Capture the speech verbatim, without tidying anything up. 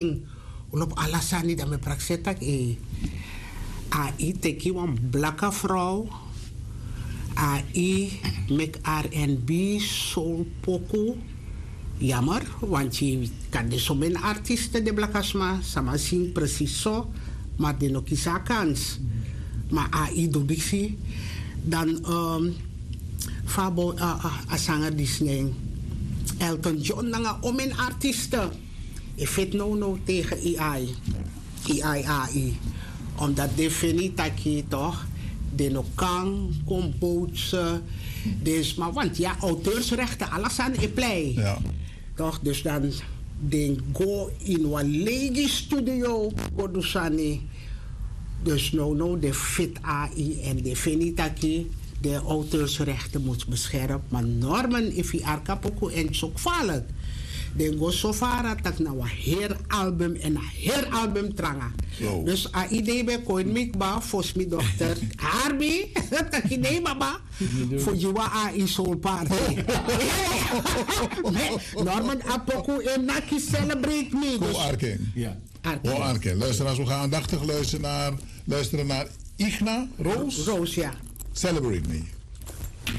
Lobi ala sani dan mi prakseri tak' ei, a i teki wan blaka frow, a i meki rnb soul poku. Yamer, wanti kan de someni artiste de blaka sma sama sing presis so, ma den no kisi a kans. Ma a i du disi dan fa a sanger disi nen, Elton John nanga omeni artiste. E feti nownow tegen ai, ai ai. Omdat den feni taki toch, den no kan kon bootse den sma want ya auteursrechten ala sani e plei. Toch dus dan den go ini wan legi studio go du sani. Dus nownow den feti ai en den feni taki den auteursrechten mus bescherm. Ma normen efu yu arki a poku en so kfalik, den go so fara tak' na wan heri album en a heri album tranga. Dus a idee ben kon ini mi kba fosi mi dokter, harbi taki nei baba, fu gi wan ai soul party. Norman a poku e naki celebrate mi. Kon arki en. Kon arki en. Luisteraars, we gaan aandachtig luisteren naar, luisteren naar Igna Roos. Roos, ja. Celebrate me.